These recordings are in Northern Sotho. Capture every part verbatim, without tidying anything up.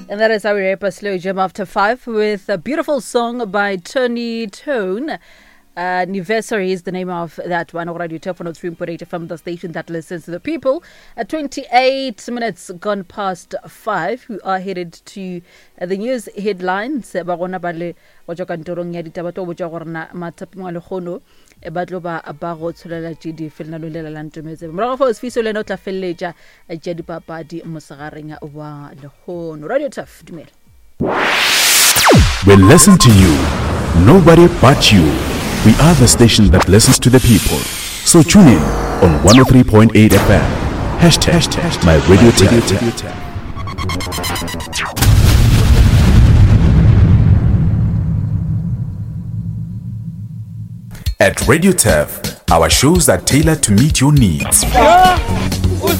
And that is how we wrap a slow jam after five with a beautiful song by Tony Tone. Uh, Anniversary is the name of that one. Radio Turf one oh three point eight F M, the station that listens to the people. At twenty-eight minutes gone past five, we are headed to uh, the news headlines. Ba gona ba le go tšwa kantorong ya ditaba tlo botša gore na mathapeng a lekgono, e ba tlo ba ba go tsholela tše di fe lenaneo le la Ntometse. Morago fao Sifiso le yena o tla feleletša tša dipapadi mosegareng wa lekgono. Radio Turf, dumela. We listen to you, nobody but you. We are the station that listens to the people. So tune in on one oh three point eight F M. Hashtag my radio tap. At Radio Turf, our shows are tailored to meet your needs. With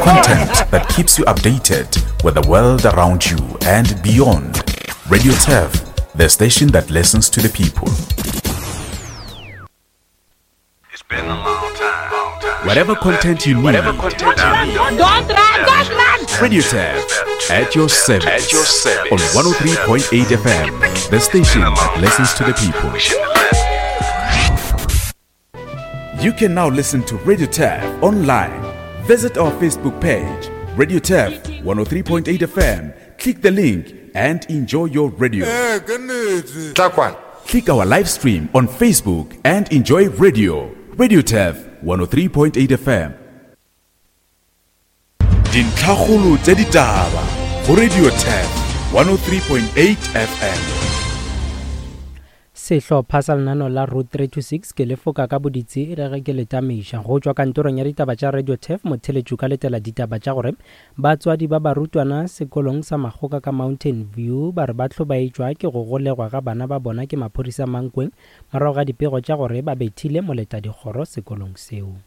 content that keeps you updated with the world around you and beyond. Radio Turf, the station that listens to the people. It's been a long time. Long time. Whatever content you need. Whatever content you need. Don't run, don't run. Radio Turf, at your service. At your service. On one oh three point eight F M, the station that listens to the people. You can now listen to Radio Turf online. Visit our Facebook page, Radio Turf one oh three point eight F M. Click the link and enjoy your radio. Click our live stream on Facebook and enjoy radio. Radio Turf one oh three point eight F M. Dintlhakgolo tsa ditaba go Radio Turf one oh three point eight F M. Sehlopha sa lenaneo la Route three two six ke lefoka ka boditsi re ge ke le tamiša go tšwa kantorong ya ditaba tša Radio Turf. Motheletšo ka letela ditaba tša gore batswadi ba barutwana sekolong sa Makgoka ka Mountain View ba re ba hlobaetšwa ke go golegwa ga bana ba bona ke maphodisa Mankweng morago ga dipego tša gore ba bethile moletadikgoro sekolong seo.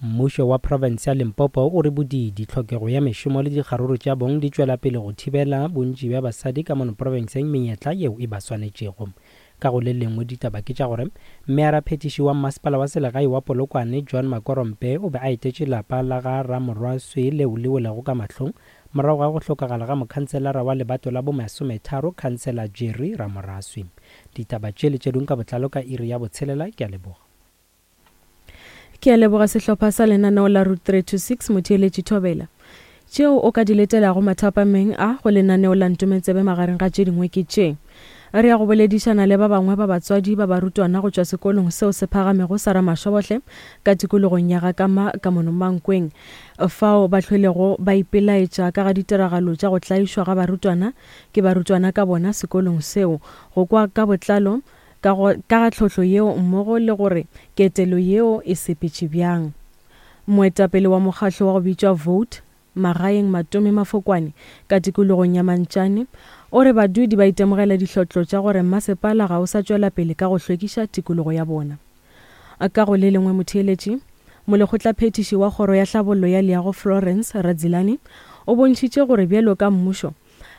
Mmušo wa province ya Limpopo o re bodidi, tlhokego ya mešomo le dikgaruru tša bong di tšwela pele go thibela bontši bja basadi ka mono provinceng menyetla yeo e ba swanetšego. Ka go le lengwe ditaba ke tša gore mmearaphethiši wa mmasepala wa selegae wa Polokwane John Makorompe o be a etetše lapa la ga Ramorwaswe leo le welego ka mahlong morago ga go hlokagala ga mokhanselara wa lebato la bomasometharo Khansela Jerry Ramoraswe. Ditaba tše le tše dingwe ka botlalo ka iri ya botshelela. Ke a leboga. Ke a leboga sehlopha sa lenaneo la Route three two six motheeletši Thobela. Tšeo o ka di letelago mathapameng a go lenaneo la Ntometsebe magareng ga tše dingwe ke tše. Re ya go boledišana le ba bangwe ba batswadi ba barutwana go tšwa sekolong seo se phagamego sa Ramašobohle ka tikologong ya Gakama ka mono Mankweng, fao ba hlwelego ba ipelaetša ka ga ditiragalo tša go tlaišwa ga barutwana ke barutwana ka bona sekolong seo. Go kwa ka botlalo ka ga tlhohlo yeo mmogo le gore ketelo yeo e sepetše bjang. Moetapele wa mokgahlo wa go bitšwa Vote Magaeng Matome Mafokwane ka tikologong ya Mantšane o re badudi ba itemogela dihlotlo tša gore mmasepala ga o sa tšwela pele ka go hlwekiša tikologo ya bona. Ka go le lengwe motheeletši, molekgotlaphethiši wa kgoro ya hlabollo ya leago Florence Radzilani o bontšhitše gore bjalo ka mmušo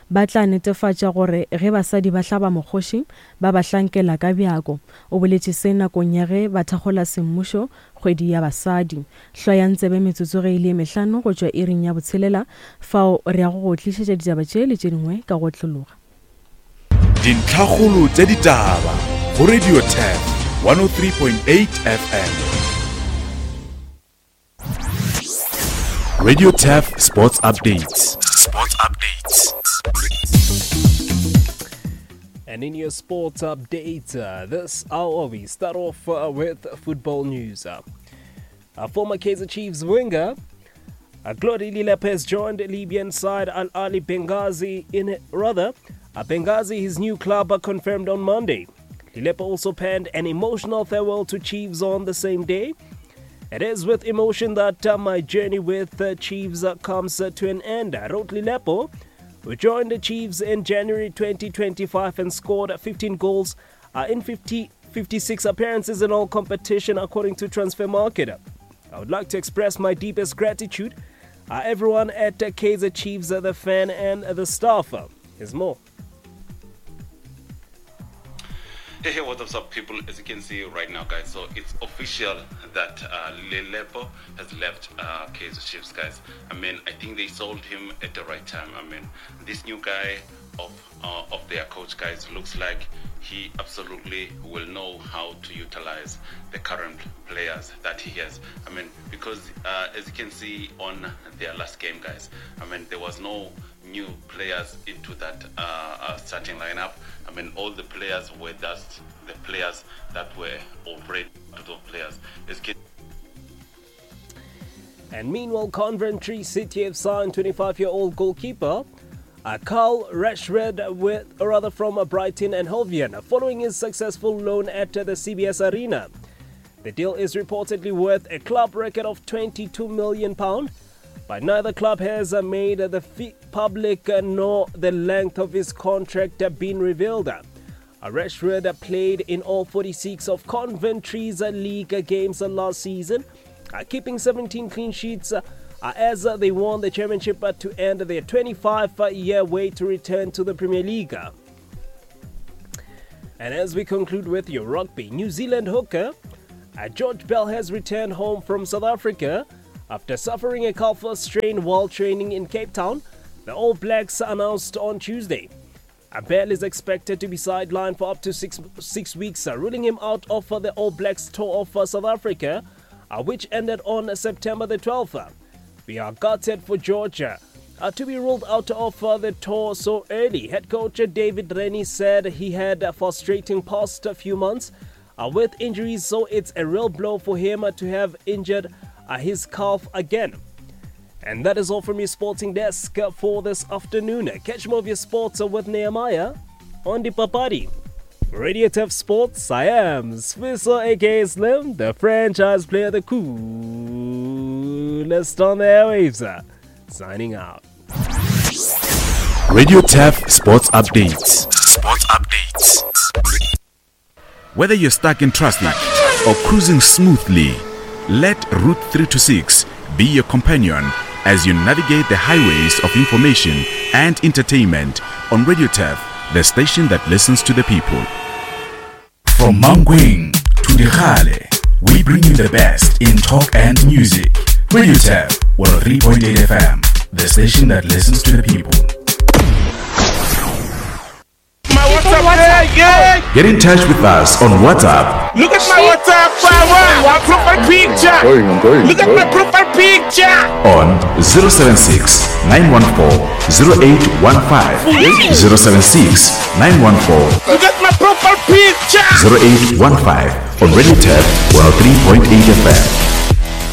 ba tla netefatša gore ge basadi ba hlaba mokgoši ba ba hlankela ka bjako. O boletše se nakong ya ge ba thakgola semmušo kgwedi ya basadi. Hlwayang tsebe metsotso ge e le mehlano go tšwa iring ya botshelela, fao re ya go go tlišetša ditaba tše le tše dingwe ka go tlologa. Dintlhakgolo tša ditaba go Radio Turf one oh three point eight F M. Radio Turf Sports Updates. Sports Updates. And in your sports update, uh, this hour we start off uh, with football news. Uh, a former Kaizer Chiefs winger, uh, Glody Lilepo, has joined Libyan side Al Ahly Benghazi in rather, uh, Benghazi, his new club, uh, confirmed on Monday. Lilepo also penned an emotional farewell to Chiefs on the same day. It is with emotion that uh, my journey with uh, Chiefs uh, comes uh, to an end, wrote Lilepo, who joined the Chiefs in January twenty twenty-five and scored fifteen goals uh, in fifty, fifty-six appearances in all competition, according to Transfermarkt. I would like to express my deepest gratitude uh, everyone at uh, Kaizer Chiefs, uh, the fan and uh, the staff. Uh, here's more. Hey, hey, what's up, people? As you can see right now, guys, so it's official that uh, Lilepo has left uh, Kaizer Chiefs, guys. I mean, I think they sold him at the right time. I mean, this new guy of uh, of their coach, guys, looks like he absolutely will know how to utilize the current players that he has. I mean, because uh, as you can see on their last game, guys, I mean, there was no new players into that uh, uh, starting lineup. I mean, all the players were just the players that were already the players. As you And meanwhile, Coventry City have signed twenty-five-year-old goalkeeper uh, Carl Rashred, with, or rather from uh, Brighton and Hove, following his successful loan at uh, the C B S Arena. The deal is reportedly worth a club record of twenty-two million pounds, but neither club has uh, made the fee public uh, nor the length of his contract uh, been revealed. Uh, Rashford uh, played in all forty-six of Coventry's uh, league games uh, last season, uh, keeping seventeen clean sheets uh, uh, as uh, they won the championship uh, to end their twenty-five-year wait to return to the Premier League. And as we conclude with your rugby, New Zealand hooker uh, George Bell has returned home from South Africa after suffering a calf strain while training in Cape Town, the All Blacks announced on Tuesday. Bell is expected to be sidelined for up to six, six weeks, uh, ruling him out of uh, the All Blacks tour of uh, South Africa, uh, which ended on September the twelfth. We are gutted for Georgia uh, to be ruled out of uh, the tour so early. Head coach David Rennie said he had a frustrating past few months uh, with injuries, so it's a real blow for him uh, to have injured uh, his calf again. And that is all from your sporting desk for this afternoon. Catch more of your sports with Nehemiah on the Papadi. Radio Turf Sports, I am Swisser aka Slim, the franchise player, the coolest on the airwaves. Signing out. Radio Turf Sports Updates. Sports Updates. Whether you're stuck in traffic or cruising smoothly, let Route three two six be your companion as you navigate the highways of information and entertainment on Radio Turf, the station that listens to the people. From Mankweng to Dikgale, we bring you the best in talk and music. Radio Turf, one oh three point eight F M, the station that listens to the people. My WhatsApp, WhatsApp. Yeah. Get in touch with us on WhatsApp. Look at my WhatsApp, my profile picture. I'm going, I'm going, Look at I'm my profile picture. On zero seven six, nine one four, zero eight one five. zero seven six, nine one four. Look at my profile picture. zero eight one five on Radio Turf one oh three point eight F M.